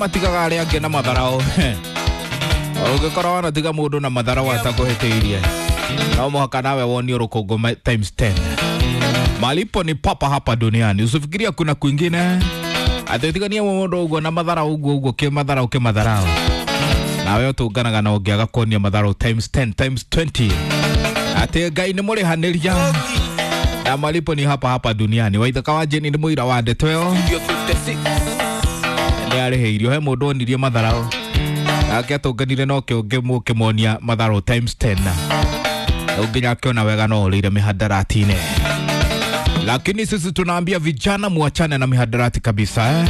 Matigaga arĩa angĩ na matharao. Ũngĩkorwo wanatiga mũndũ na matharao atakũhĩtĩirie, no mũhaka nawe wonio rũkũngũ times 10. Malipo ni papa hapa duniani, usifikiria kuna kwingine. Atĩtigania mũndũ ũguo na matharao ũguo ũguo kĩmatharao kĩmatharao, nawe ũtũnganaga na ũngĩaga kuonia matharao times 10 times 20, atĩ Ngai nĩ mũrĩhanĩria na malipo ni hapa hapa duniani. Waithaka wa Jane nĩ mũira wa ndeto ĩyo, nĩ arĩhĩirio. He mũndũ onirie matharao nake atũnganire no kĩũngĩ mũkĩmonia matharao times 10, rĩu nginya akĩona wega no ũrĩire mihadarati-inĩ. Lakini sisi tunaambia vijana muachane na mihadarati kabisa, eh?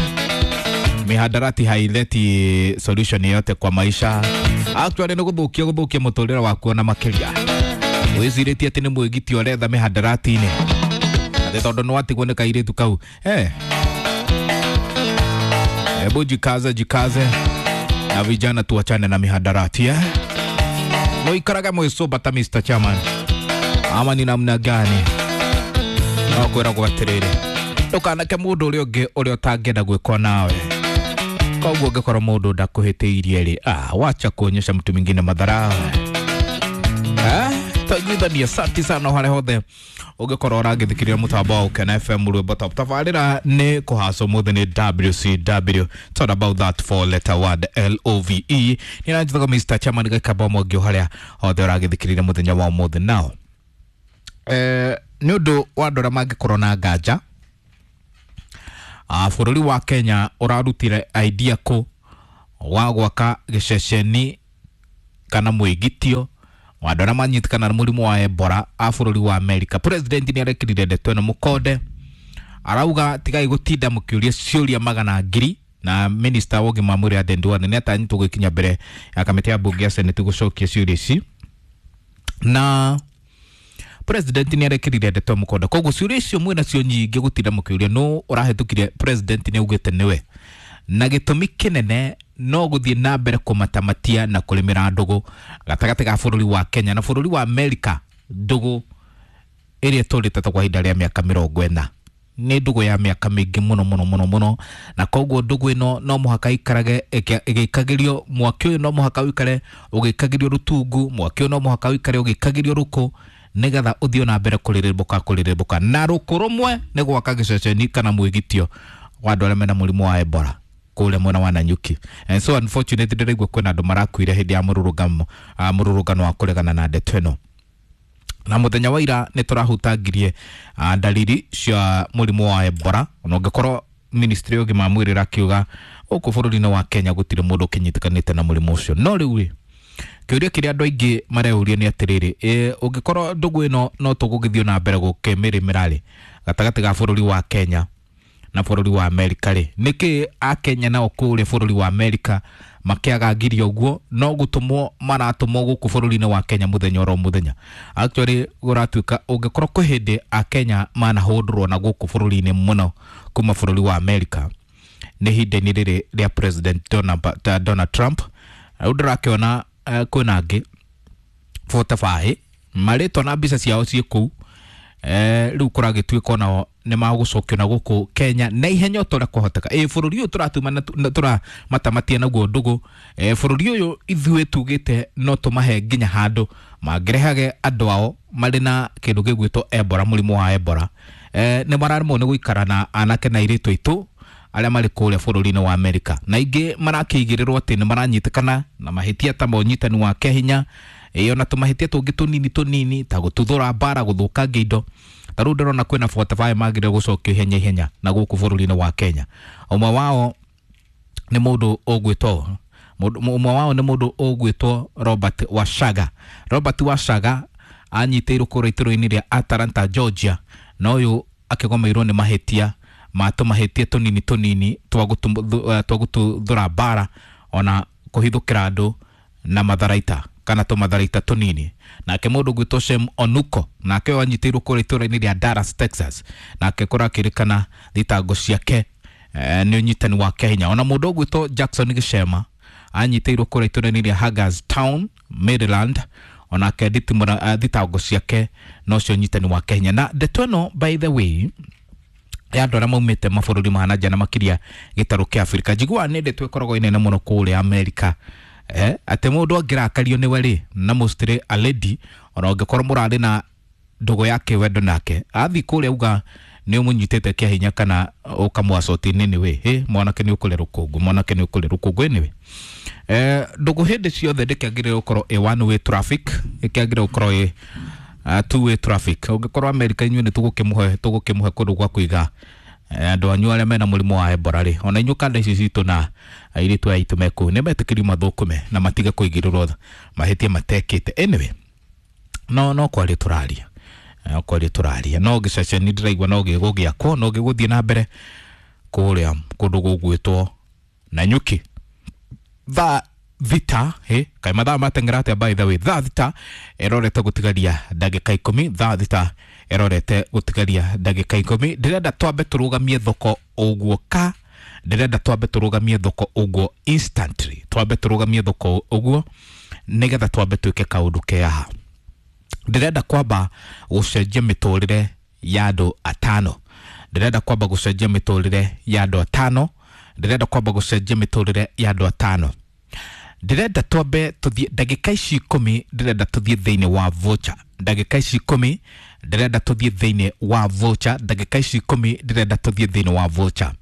Mihadarati haileti solution yoyote kwa maisha. Actually nĩ gũthũkia gũthũkia mũtũrĩre waku na makĩria. Wĩcirĩtie atĩ nĩ mwĩgiti ũretha mihadarati-inĩ, atĩ tondũ nĩ watigwo nĩ kairĩtu kau, eh? Hebu jikaze, jikaze na vijana tuachane na mihadarati, eh? Muikarage mwĩcũmba ta Mr. Chairman ama ni namna gani? No kwĩragwo atĩrĩrĩ, ndũkanake mũndũ ũrĩa ũngĩ ũrĩa ũtangĩenda gwĩkwo nawe. Koguo ũngĩkorwo mũndũ ndakũhĩtĩirie rĩ, ah, wacha kuonyesha mtu mwingine madharau, eh? Tũiguithanie. Asante sana harĩa hothe ũngĩkorwo ũragĩthikĩrĩria mũtambo wa Ũkena FM rwĩmbo top. Tabarĩra nĩ kũhacwo mũthĩ nĩ WCW. It's all about that four letter word LOVE. Nĩ nanjĩtagwo Mr. Chairman Gĩkamba Mwangi harĩa hothe ũragĩthikĩrĩria mũthenya wa ũmũthĩ. Nao nĩ ũndũ wa andũ arĩa mangĩkorwo na nganja, bũrũri wa Kenya ũrarutire idea kũ wa gwaka gĩceceni kana mwĩgitio wa andũ arĩa manyitĩkana na mũrimũ wa Ebola a bũrũri wa America. President nĩ arekĩrire ndeto ĩno mũkonde, arauga tigai gũtinda mũkĩũria ciũria magana ngiri. Na minister wa ũgima wa mwĩrĩ Aden Duale nĩ atanyĩtwo gwĩkinya mbere ya kamĩtĩ ya mbunge ya Senate gũcokia ciũria ici, na president nĩ arekĩrire ndeto mũkonde. Koguo ciũria icio mwĩna cio nyingĩ gũtinda mũkĩũria nũ ũrahĩtũkire, president nĩ augĩte nĩwe, na gĩtũmi kĩnene no gũthiĩ na mbere kũmatamatia na kũrĩmĩra ndũgũ gatagatĩ ga bũrũri wa Kenya na bũrũri wa America, ndũgũ ĩrĩa ĩtũrĩte ta kwa ihinda rĩa mĩaka 40. Nĩ ndũgũ ya mĩaka mĩingĩ mũno mũno mũno mũno, na koguo ndũgũ ĩno no mũhaka ikarage ĩgĩikagĩrio mwaki ũyũ, no mũhaka ũikare ũgĩikagĩrio rũtungu mwaki ũyũ, no mũhaka ũikare ũgĩikagĩrio rũkũ nĩgetha ũthiĩ na mbere kũrĩrĩmbũka kũrĩrĩmbũka. Na rũkũ rũmwe nĩ gwaka gĩceceni kana mwĩgitio wa andũ arĩa mena mũrimũ wa Ebola kũrĩa mwena wa Nanyuki. And so unfortunately ndĩraigua kwĩna andũ marakuire hĩndĩ ya mũrũrũngano, mũrũrũngano wa kũregana na ndeto ĩno. Na mũthenya wa ira nĩ tũrahutangirie ndariri cia mũrimũ wa Ebola, ona ũngĩkorwo ministry ya ũgima wa mwĩrĩ ĩrakiuga gũkũ bũrũri-inĩ wa Kenya gũtirĩ mũndũ ũkĩnyitĩkanĩte na mũrimũ ũcio. No rĩu rĩ, kĩũria kĩrĩa andũ aingĩ mareuria nĩ atĩrĩrĩ, ũngĩkorwo ndũgũ ĩno no tũgũgĩthiĩ na mbere gũkĩmĩrĩmĩra rĩ gatagatĩ ga bũrũri wa Kenya na bũrũri wa Amerika rĩ, nĩkĩ akenya nao kũrĩa bũrũri wa Amerika makĩaga ngiria ũguo no gũtũmwo maratũmwo gũkũ bũrũri-inĩ wa Kenya mũthenya oro mũthenya? Actually gũratuĩka ũngĩkorwo kwĩ hĩndĩ akenya manahũndũrwo na gũkũ bũrũri-inĩ mũno kuma bũrũri wa Amerika nĩ ihinda-inĩ rĩrĩ rĩa President Donald Trump. Rĩu ndĩrakĩona kwĩna angĩ 45 marĩtwa na mbica ciao ciĩ kũu. Rĩu kũragĩtuĩka onao nĩ magũcokio na gũkũ Kenya na ihenya o ta ũrĩa kwahoteka. Ĩ bũrũri ũyũ tũratuma tũramatamatia naguo ndũgũ, bũrũri ũyũ ithuĩ tugĩte no tũmahe nginya handũ mangĩrehage andũ ao marĩ na kĩndũ gĩgwĩtwo Ebola, mũrimũ wa Ebola. Nĩ mararemwo nĩ gũikara na anake na airĩtu aitũ arĩa marĩ kũrĩa bũrũri-inĩ wa Amerika, na ingĩ marakĩigĩrĩrwo atĩ nĩ maranyitĩkana na mahĩtia ta ma ũnyitani wa kĩahinya, ĩ ona tũmahĩtia tũngĩ tũnini tũnini ta gũtuthũra mbara, gũthũkangia indo. Ta rĩu ndĩrona kwĩna 45 magĩrĩire gũcokio ihenya ihenya na gũkũ bũrũri-inĩ wa Kenya. Ũmwe wao nĩ mũndũ ũgwĩtwo ũmwe wao nĩ mũndũ ũgwĩtwo Robert Washaga. Robert Washaga anyitĩirwo kũrĩa itũũra-inĩ rĩa Atlanta, Georgia, na ũyũ akĩgomeirwo nĩ mahĩtia ma tũmahĩtia tũnini tũnini twa gũtuthũra mbara ona kũhithũkĩra andũ na matharaita kana tũmatharaita tũnini. Nake mũndũ ũgwĩtwo Shem Onuko, nake ũyũ anyitĩirwo kũrĩa itũũra-inĩ rĩa Dallas, Texas, nake kũrakĩrĩkana thitango ciake nĩ ũnyitani wa kĩahinya. Ona mũndũ ũgwĩtwo Jackson Gĩcema anyitĩirwo kũrĩa itũũra-inĩ rĩa Hagerstown, Maryland, onake thitango ciake nocio ũnyitani wa kĩahinya. Na ndeto ĩno, by the way, Ya andũ arĩa maumĩte mabũrũri ma nanja na makĩria gĩtarũ kĩa Afrika. Njiguaga nĩ ndeto ĩkoragwo ĩ nene mũno kũrĩa Amerika, atĩ mũndũ angĩrakario nĩwe rĩ, na mostly a lady, ona ũngĩkorwo mũrarĩ na ndũgũ ya kĩwendo nake, athiĩ kũrĩa auga nĩ ũmũnyitĩte kĩa hinya kana ũkamwacoti anyway, hĩ mwanake nĩ ũkũrĩa rũkũngũ, mwanake nĩ ũkũrĩa rũkũngũ anyway. Ndũgũ hĩndĩ ciothe ndĩkĩagĩrĩire gũkorwo ĩ one way traffic, ĩkĩagĩrĩire gũkorwo ĩ two way traffic. Ũngĩkorwo Amerika inyuĩ nĩ tũgũkĩmũhe kũndũ gwa kũiga andũ anyu arĩa mena mũrimũ wa Ebola rĩ, ona inyuĩ kanda ici citũ na airĩtu aya aitũ me kũu nĩ metĩkĩrio mathũkũme na matige kũigĩrĩrwo mahĩtia matekĩte. Anyway, no kwaria tũraria, no kwaria tũraria, no gĩceceni ndĩraigua no gĩgũgĩakwo, no gĩgũthiĩ na mbere kũrĩa kũndũ gũgwĩtwo Nanyuki. Thaa thita, kaĩ mathaa mateng'era atĩa by the way? Thaa 6 ĩrorete gũtigaria ndagĩka 10, thaa 6 ĩrorete gũtigaria ndagĩka 10. Ndĩrenda twambe tũrũgamie thoko ũguo ka, ndĩrenda twambe tũrũgamie thoko ũguo instantly, twambe tũrũgamie thoko ũguo nĩgetha twambe twĩke kaũndũ ke haha. Ndĩrenda kwamba gũcenjia mĩtũrĩre ya andũ atano, ndĩrenda kwamba gũcenjia mĩtũrĩre ya andũ atano, ndĩrenda kwamba gũcenjia mĩtũrĩre ya andũ atano. Ndĩrenda twambe tũthiĩ ndagĩka ici 10, ndĩrenda tũthiĩ thĩinĩ wa voucher ndagĩka ici 10, ndĩrenda tũthiĩ thĩinĩ wa voucher ndagĩka ici 10, ndĩrenda tũthiĩ thĩinĩ wa voucher.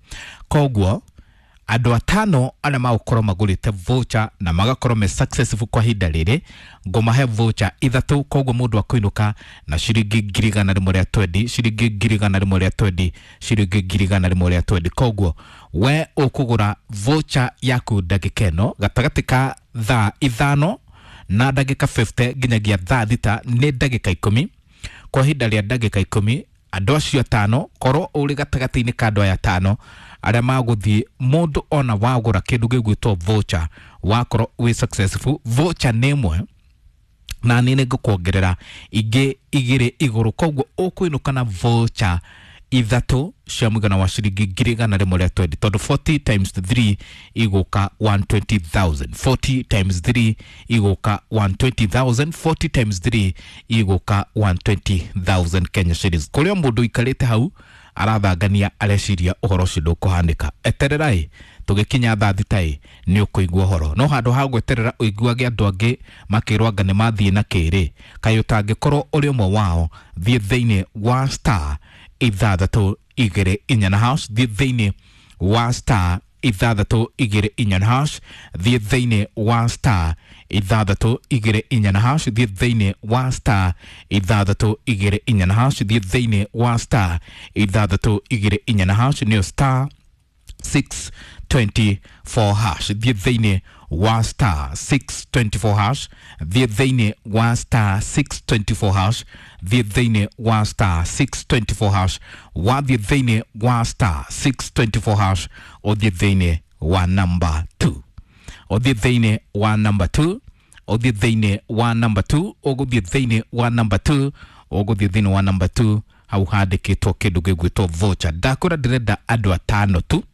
Koguo andũ atano arĩa magũkorwo magũrĩte voucher na magakorwo me successful kwa ihinda rĩrĩ, ngũmahe voucher 3. Koguo mũndũ akũinũka na ciringi 120,000, ciringi 120,000, ciringi 120,000. Koguo we ũkũgũra voucher yaku ndagĩka ĩno gatagatĩ ka thaa 5 na ndagĩka 50 nginyagia thaa 6, nĩ ndagĩka 10. Kwa ihinda rĩa ndagĩka 10 andũ acio atano, korwo ũrĩ gatagatĩ-inĩ ka andũ aya atano arĩa magũthiĩ, mũndũ ona wagũra kĩndũ gĩgwĩtwo voucher wakorwo wĩ successful, voucher nĩ ĩmwe na niĩ nĩngũkuongerera ingĩ 2 igũrũ. Koguo ũkũinũka na voucher 3 cia mũigana wa ciringi 120,000, tondũ 40 times 3 igũka 120,000, 40 times 3 igũka 120,000, 40 times 3 igũka 120,000 Kenya shillings. Kũrĩa mũndũ ũikarĩte hau arathangania areciria ũhoro ũcio ndũkũhanĩka, etererai tũgĩkinya thaa 6 nĩ ũkũigua ũhoro. No handũ ha gweterera ũiguage andũ angĩ makĩrwo anga nĩ mathiĩ na kĩrĩ, kaĩ ũtangĩkorwo ũrĩ ũmwe wao, thiĩ thĩinĩ wa star 6 2 4 hash, thiĩ thĩinĩ wa star 6 2 4 hash, thiĩ thĩinĩ wa star 6 2 4 hash, thiĩ thĩinĩ wa star 6 2 4 hash, thiĩ thĩinĩ wa star 6 2 4 hash, nĩyo star 624 hash, thiĩ thĩinĩ wa star 624 hash, thiĩ thĩinĩ wa star 624 hash, thiĩ thĩinĩ wa star 624 hash, wathiĩ thĩinĩ wa star 624 hash, ũthiĩ thĩinĩ wa number 2, ũthiĩ thĩinĩ wa number 2, ũthiĩ thĩinĩ wa number 2, ũgũthiĩ thĩinĩ wa number 2, ũgũthiĩ thĩinĩ wa number 2, hau handĩkĩtwo kĩndũ gĩgwĩtwo voucher. Ndakwĩra ndĩrenda andũ atano tu,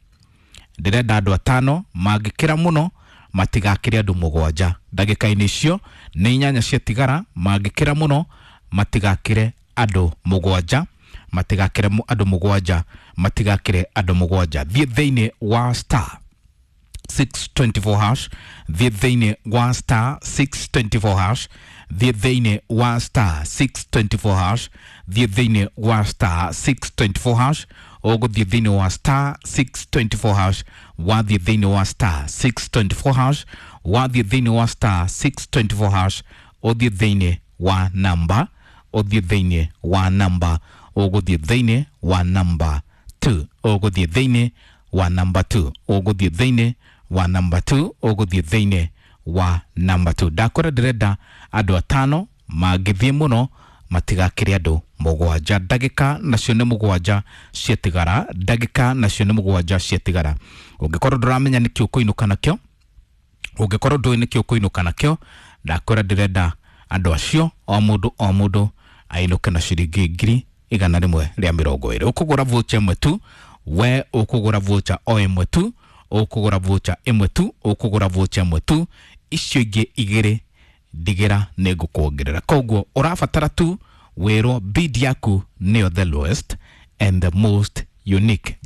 ndĩrenda andũ atano, mangĩkĩra mũno matigakĩre andũ 7. Ndagĩka-inĩ icio nĩ 8 ciatigara, mangĩkĩra mũno matigakĩre andũ 7, matigakĩre andũ 7, matigakĩre andũ 7. Thiĩ thĩinĩ wa star 624 hash, thiĩ thĩinĩ wa star 624 hash, thiĩ thĩinĩ wa star 624 hash, thiĩ thĩinĩ wa star 624 hash, ũgũthiĩ thĩinĩ wa star 624 hash, wathiĩ thĩinĩ wa star 624 hash, wathiĩ thĩinĩ wa star 624 hash, ũthiĩ thĩinĩ wa namba, ũthiĩ thĩinĩ wa namba, ũgũthiĩ thĩinĩ wa namba 2, ũgũthiĩ thĩinĩ wa namba 2, ũgũthiĩ thĩinĩ wa namba 2, ũgũthiĩ thĩinĩ wa namba 2. Ndakwĩra ndĩrenda andũ atano, mangĩthiĩ mũno matigakĩre andũ 7. Ndagĩka nacio nĩ 7 ciatigara, ndagĩka nacio nĩ 7 ciatigara. Ũngĩkorwo ndũramenya nĩkĩ ũkũinũka nakĩo, ũngĩkorwo ndũĩ nĩkĩ ũkũinũka nakĩo, ndakwĩra ndĩrenda andũ acio o mũndũ o mũndũ ainũke na ciringi 120,000. Ũkũgũra voucher ĩmwe tu, we ũkũgũra voucher o ĩmwe tu, ũkũgũra voucher ĩmwe tu, ũkũgũra voucher ĩmwe tu, icio ingĩ 2 ndigĩra nĩ ngũkuongerera. Koguo ũrabatara tu wĩrwo bid yaku nĩyo the lowest and the most Unique.